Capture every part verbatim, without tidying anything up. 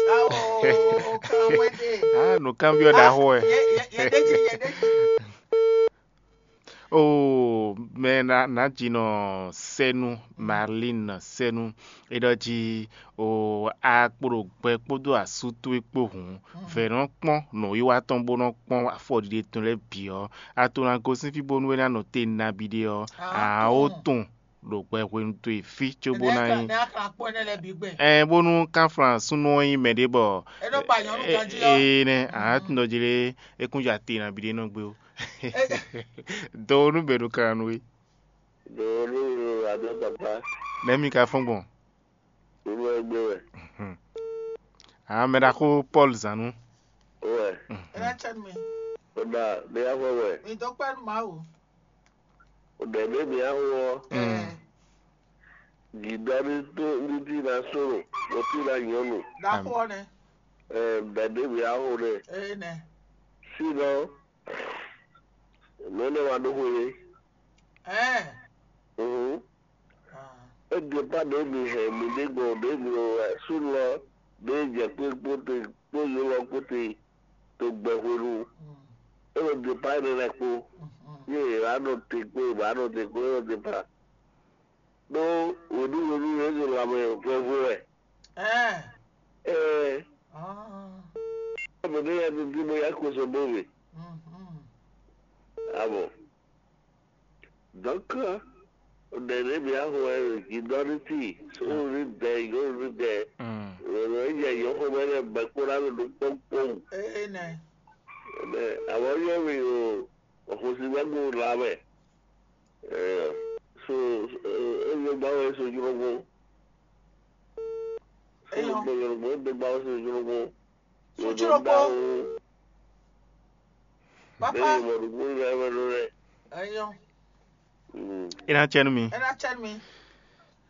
Ao, kan wɛ ɖe. Ah, nǔkanbyɔ́ ɖaxó wɛ. Yɛ yɛ yɛ ɖe jí yɛ ɖe jí. Oo, mɛ ná ná jinɔ sɛ́nú, Marlin sɛ́nú. É ɖɔ jí o a kpo ɖo gbɛ kpódó asú towe kpó hǔn, vɛ̌ nɔ kpɔ́n nǔwiwa tɔn bó nɔ kpɔ́n afɔɖiɖe tɔn lɛ́ɛ bǐ ɔ́, a to ná gosín fí bónú é ná nɔ te nabí ɖé ɔ́, ǎ ó tunwun ɖo gbɛ hwenu towe fí cóbó ná nyí. Ɛɛ bónú kánflán súnnu ɔ́ nyí mɛ ɖé bɔ ee nɛ ǎ tún ɖɔ jí lé é kún ja te nabí ɖé nɔ gbé ó. Do nú bɛ̌ ɖo kan nú we. Ɖo olúwo adó tɔkpá. Nɛ̌ mi ka fɔ́n gbɔn? Olú wɛ gbé wɛ. Ǎ mɛ ɖaxó Pɔ́lu zǎn nú. Wɛ. Ena chan mi. O ɖa ɖé yá fɔ wɛ. Mi dó kpɛ́ nú Mawu. O ɖɛ ɖé mi yá fɔ wɔ. Ɛ. Gǐdɔ ní tó ní tí na sólo mo tí na nyɔnu. Ɖaxó ɔ́ nɛ. Ɛ ɖɛ ɖé mi yá fɔ nɛ. Ɛ nɛ. Sínɔ mɛ nɛ wa ɖó xwe. Ɛ. Mhm. Ah. Égbe kpá ɖě mi hɛn mi ɖě gbɔn ɖě mi wɛ súnnu ɔ́ ɖě jɛ kpé kpó te kpó yǒlɔ kpó te to gbɛ hwenu. Mm. É ɖo départ énɛ́ lɛ́ɛ kpó. Mhm. Yé è wǎ nɔ te kpó è wǎ nɔ te kpó é nɔ départ. Ɖó wěɖúwěɖú yě ɖo lanmɛ vɛvó wɛ. Ɛɛ. Ɛɛ. Ah. Ɔbɛ ɖé yɛ dídí bó yá kó sɔ bó we. Mhm. Ah bon. Donc, ɖe ɖé bia xɔ ɛ gidɔniti sórí dɛ yórí dɛ lɔlɔ yɛ yɔxɔ mɛ lɛ bɛ kpó ɖa lɔ ɖo kpɔkpɔm. Ee nɛ. Ɛnɛ awɔ yɔ mi o ɔxɔsi bɛ gbó la mɛ. Ɛɛ so ɛɛ ɛyɛ gba wɛ so jrɔgbó. So Eyɔ. Gbɔ yɔrɔ gbɔ ɛdɛ gba wɛ so jrɔgbó. Sutiro kpó. Papa. Eyɔ. Mm. Ina cɛnu mi. Ena chan mi.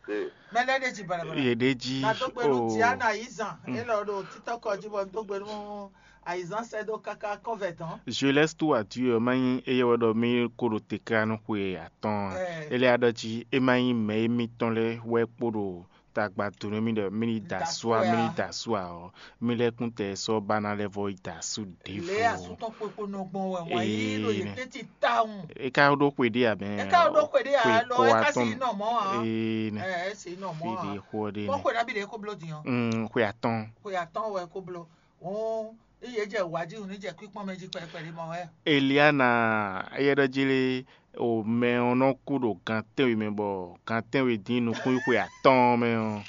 Mɛlɛ ɖe jí balabala. Ye ɖe jí. Na dó gbe nú Diana Ayizan. Ele ɔ́ ɖo títɔkɔ jí bɔ dó gbe nú Ayizan sɛ dó káká kɔvɛ tɔn. Je laisse tout à Dieu, ɔ́ má nyí éyɛ́ wɛ ɖɔ mí kó ɖo te ká nú xwe atɔn. Ɛ. Ele aɖɔ jí é má nyí mɛ émítɔn lɛ́ɛ wɛ kpo ɖo tagba do nú mì ɖɔ mì ní da asú a mì ní da asú a ɔ́, mì lɛ́ kún tɛ sɔ́ ba ná lɛ́ vɔ yi da asú ɖěvo. Lě asútɔ́ kpokpo nɔ gbɔn wɛ wǎn yí ɖo yě tɛ́ntin tawun. É ka ɖó xwe ɖé a mɛ? É ka ɖó xwe ɖé a lɔ é ka si nɔ mɔ a. Ee nɛ. Ɛ ɛ si nɔ mɔ a. Fi ɖe xɔ ɖé nɛ. Kpɔ́ xwe ɖabi ɖe kó bló din ɔ. Mm, xwe atɔn. Xwe atɔn wɛ kó bló. Òun ní yě jɛ wǎ jí, òun ní jɛ kwíkpɔ́n mɛ jí kpɛɖé kpɛɖé mɔ wɛ. Eliana, éyɛ́ ɖɔ jí lé, o mɛ ɔ́ nɔ kú ɖo gan tɛ́nwe mɛ bɔ gan tɛ́nwe dín nukúnxwe atɔ́ɔ́n mɛ ɔ́.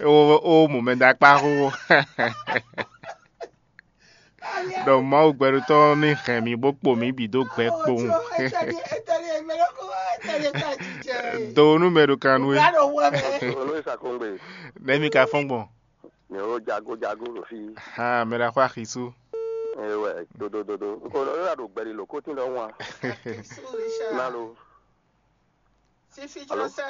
Ó mɔ mɛ dó akpá xó. Ɖɔ Mawu gbɛɖutɔ́ ní hɛn mì bó kpo mǐ bǐ dó gbɛ kpowun. Do nú mɛ ɖo kan nú we. Olóyè Sakongbe. Nɛ̌ mi ka fɔ́n gbɔn? Mǐ ɖo jago jago ɖo fí. Ha mɛ ɖaxó axisú. Ewɛ dodododo. Nko nɔ yɔ ɖo gbɛɖi lǒ kótín ɖɔhun a. Ná lo. Sífí jɔ sɛ.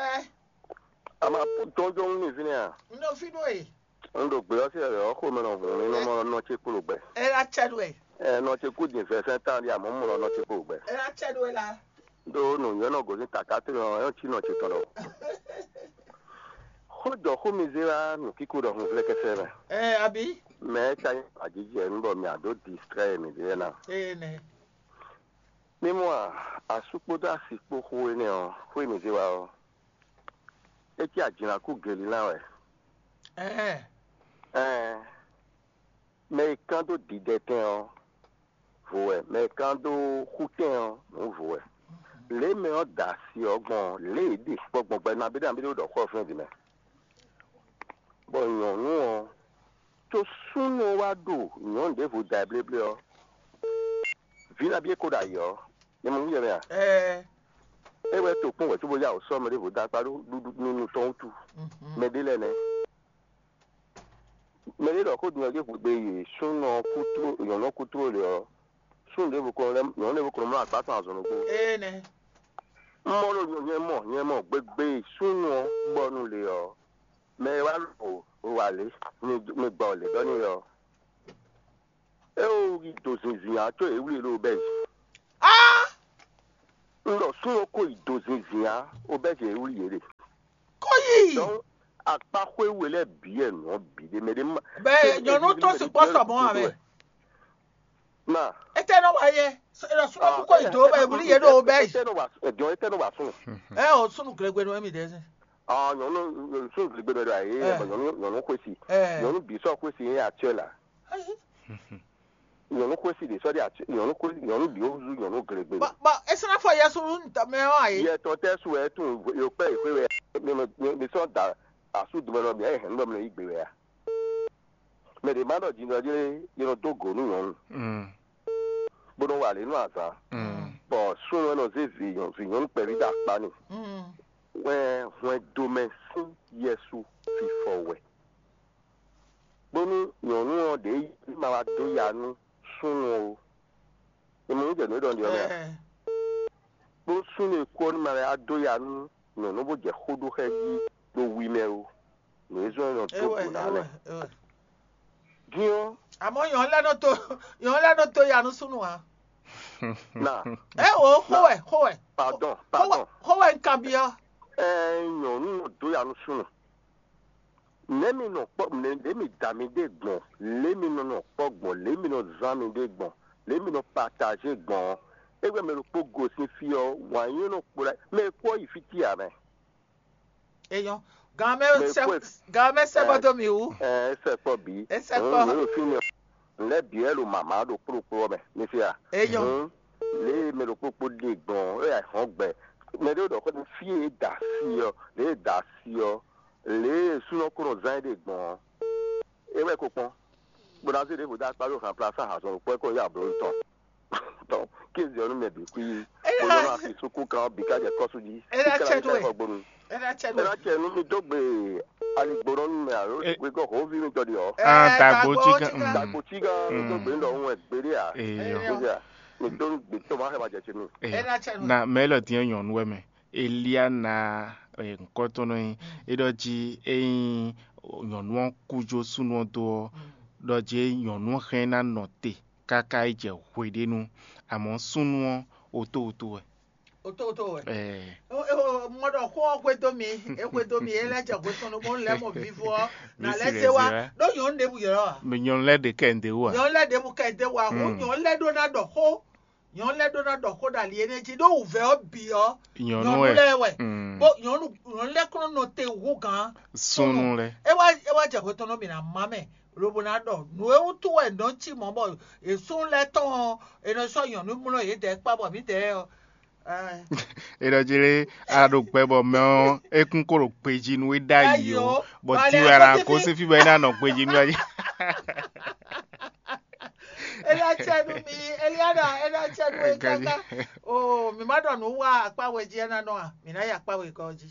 Ama jɔnjɔn ní fínɛ́ a? N ɖo fí ɖó e. N ɖo gbé ɔ́ sí ɔ́ xó mɛ nɔ hùn mí nɔ mɔ nɔ ce kúlò gbɛ. Ela cɛ ɖo e. Ɛ nɔ ce kú din fɛfɛn tán ɖi amɔ mɔ nɔ ce kúlò gbɛ. Ela cɛ ɖo e la. Ɖó nǔnywɛ́ nɔ gǒzín taká tó nɔ ɛ cí nɔ ce tɔn ɖɔ. Xó jɔ xó mi zé wá nǔkíkó ɖɔ hun vlɛ́kɛsɛ mɛ. Ɛ abi. Mɛ ɛ ka nyí ajijɛ nú bɔ mi àdó distrɛ mi ɖe na. Ee nɛ. Mímɔ a, asú kpódó asi kpó xó énɛ́ ɔ́, xó e mǐ zé wá ɔ́, é cí ajǐnakú Gelilán wɛ. Ɛɛ, mɛ e kán dó didɛtɛn ɔ́, vo wɛ; mɛ e kán dó xútɛn ɔ́, nǔ vo wɛ. Lě e mɛ ɔ́ da asi ɔ́ gbɔn ɔ́, lě e é ɖe kpɔ́ gbɔn gbɛ nabí nabí ɖé ɖɔ xó ɔ́ fínɛ́ din mɛ. Bɔ nyɔ̌nu ɔ́, có súnnu ɔ́ wá ɖo nyɔ̌nu ɖěvo da ɛ bléblé ɔ́, vǐ nabí é ko ɖo ayǐ ɔ́, nyɛ mɔ nú yɛ mɛ a? Ɛɛ, É wɛ to kpɔ́n wɛ cóbó yá wǔ sɔ́ mɛ ɖěvo dó akpá ɖó ɖuɖu nunu tɔn wútu. Mɛ ɖé lɛ́ɛ nɛ́. Mɛ ɖé ɖɔ xó din ɔ́ ɖěvo gbe yi súnnu ɔ́ kútló nyɔ̌nu ɔ́ kútló lě ɔ́, súnnu ɖěvo ko nɔ lɛ́ nyɔ̌nu ɖěvo ko nɔ mlɔ́ agbá tɔn azɔn ɖokpó. Ee nɛ. Un mɔ ɖo nyɛ mɔ nyɛ mɔ gbegbe súnnu ɔ́ gbɔ nú lě ɔ́, mɛ e wá ɖo wa lě, mi mi gbɔ lě ɖɔ n'i ɔ́, é wú yi do zinzin ǎ có yě wlí e ɖo bɛ́ yi. Ah! Un ɖɔ súnnu ko yi do zinzin á, o bɛ́ zě wlí yě ɖe. Kó yí. Donc akpá xwé we lɛ́ɛ bǐ wɛ nǔ ɔ́ bǐ ɖe mɛ ɖé ma. Bɛ nyɔnu tó sukpɔ sɔ mɔ amɛ. Ma. Ete nɔ wa yɛ. Sukpɔ kó yi do bɛ wuli yɛ ɖo bɛ yi. Ete nɔ wa jɔn ete nɔ wa súnnu. Ɛ o sunu glegbe nɔ mi dɛ. Ah nyɔnu súnnu glegbe nɔ ɖo ayé nyɔnu nyɔnu xwesi. Nyɔnu bǐ sɔ xwesi yẹn actuel la. Nyɔnu xwesi ɖe sɔ ɖe actuel nyɔnu xwesi nyɔnu bǐ ó zu nyɔnu glegbe. Bɔ bɔ esana fɔ yɛ sunu ntɔmɛ ɔ ayi. Yɛ tɔn tɛ su wɛ tun yɔ kpɛ yi xwe wɛ mi sɔ da asu dumɛ nɔ mi ayɛ hɛn nɔ mi yi gbe wɛ a. Mɛ ɖě ma ɖɔ jǐnjɔ́n jí lé, yě nɔ dó gǒ nú nyɔ̌nu, bó nɔ́ wa lě nú azǎn, bɔ súnnu wɛ nɔ zé vǐ nyɔ̌nu vǐ nyɔ̌nu kpɛví dó akpá n'i. Wɛ hwɛndo mɛ sín yɛsu fifɔ wɛ, bónú nyɔ̌nu ɔ́ ɖě ma wá dó ya nú súnnu ó. È mɔ nǔ jɛ nǔ e ɖɔ un ɖe ɔ́ mɛ a? Bó súnnu e kú ɔ́ ní ma wá dó ya nú nyɔ̌nu bó jɛ xó ɖó xá ɛ jí ɖo wi mɛ ó. Nǔ e zɔ́n é nɔ dó gǔ ná lɛ́ɛ. Din ɔ́, àmọ́ yɔn lɛ́ nɔ tó yɔn lɛ́ nɔ tó ya nú súnnu ǎ. Na, Ɛ o xó wɛ xó wɛ pardon, xó wɛ pardon. Xó wɛ un kanbyɔ́. Ɛ nyɔ̌nu nɔ dó ya nú súnnu. Nɛ̌ mi nɔ kpɔ́ nɛ̌ mi da mi ɖe gbɔn, lě mi nɔ nɔ kpɔ́ gbɔn, lě mi nɔ zán mi ɖe gbɔn, lě mi nɔ pataje gbɔn ɔ́, é wɛ mɛ ɖokpó gosín fí ɔ́, wǎn nyí nɔ kplá mɛ e kú ɔ́ yi fí tía mɛ. Eyɔn, gan mɛ sɛ gan mɛ sɛ bɔ dó mi wú. Ɛ é sɛ kpɔ bǐ. É sɛ kpɔ. Mɛ ɖo fí mi ɔ́, lɛ́ bǐ wɛ ɖo mǎmá ɖo kplókpló ɔ́ mɛ, mi fí a? Eyɔn. Lě e mɛ ɖokpó kpó ɖe gbɔn ɔ́, é wá hɔn gbɛ. Mɛ ɖé ɖɔ xó ɖo fí e da asi ɔ́, lě e da asi ɔ́, lě e súnɔ kó nɔ zán é ɖe gbɔn ɔ́, é wɛ ko kpɔ́n. Bó ná zé ɖěvo dó akpá ɖo hǎnplá sá hazɔn ɖokpó wɛ kó yá abló tɔn. Tɔn, kéze ɔ́ nú mɛ bǐ kú yi. Bó nɔ́ nɔ asi súkú kan ɔ́ bǐ ká jɛ kɔ́sú jí. É ná cɛ nú ɛ. Gbonu. É ná cɛ É ná cɛ nú mi dó gbe aligbónɔ nú mɛ alo Eh. Gbégbé hɔnví mi tɔ́ ɖi ɔ́. Ah, dagbo tí kan. Kan. Dagbo tí gán mi dó gbe ńlọ òun ẹ̀ gbéɖé à. Eyɔ. Eyɔ. Kéze à, mi dó gbe tó máa xɛ ma jɛ ce nú. Eyɔ. Ena cɛ nú. Na mɛ élɔ́ dín nyɔ̌nu wɛ mɛ. Eliana eh, ŋkɔtɔnɔ nyi. Eɖɔ dzi eyin nyɔ̌nu ɔ́ kú jó súnnu ɔ́ dó ɔ́, ɖɔ dzi nyɔ̌nu ɔ́ hɛn ná nɔ te káká yi jɛ hweɖénu, amɔ̌ súnnu ɔ́ otóoto wɛ. Otóoto wɛ. Eh, Mɔ ɖɔ xó ɔ́ xwedó mi, é xwedó mi, é lɛ́ jɛ hwetɔn ɖokpó lɛ́ mɔ vivo ɔ́, nà Mi lɛ́ si zé wa. lɛ zi wɛ. Ɖó nyɔ̌nu ɖěbǔ yɔ̌ ɔ́. Mɛ nyɔ̌nu lɛ́ɛ ɖe kɛ ǹdè wú a? Nyɔ̌nu lɛ́ɛ ɖěbǔ kɛ dé wa, xó Mm. nyɔ̌nu lɛ́ɛ ɖó ná ɖɔ xó. Nyɔ̌nu lɛ́ɛ ɖó ná ɖɔ xó ɖo ali énɛ́ jí, ɖó wǔvɛ́ ɔ́ bǐ ɔ́. Nyɔ̌nu Nyɔ̌nu wɛ. Lɛ́ɛ wɛ. Mm. Bó nyɔ̌nu nyɔ̌nu lɛ́ɛ kɔn nɔ te wú gǎn. Súnnu lɛ. É wá é wá jɛ hwetɔn nɔ mǐ ná má mɛ, lobo ná ɖɔ nǔ e wútu wɛ nɔ cí mɔ̌ bɔ è súnnu lɛ́ɛ tɔn ɔ́, è nɔ sɔ́ nyɔ̌nu mlɔ́ yědɛɛ kpá bɔ mǐdɛɛ ɔ́. Ɛ, Eɖɔ dzi lé a ɖo gbɛ bɔ mɛ ɔ́ ekún kó ɖo gbejí nú é ɖ'ayǐ Ɖ'ayǐ o, o. bɔ Bɔ ti ali wɛ la akɔ́sífí. Kó sífí bɔ é ná nɔ gbejí nú ayé. Elia tsɛ nú mi, Eliana, Elia tsɛ nú mi Gaji. Kaka. O, mi ma ɖɔ nǔ wa akpá we jí ena nɔ a? Mi ná yi akpá we gɔ́ jí.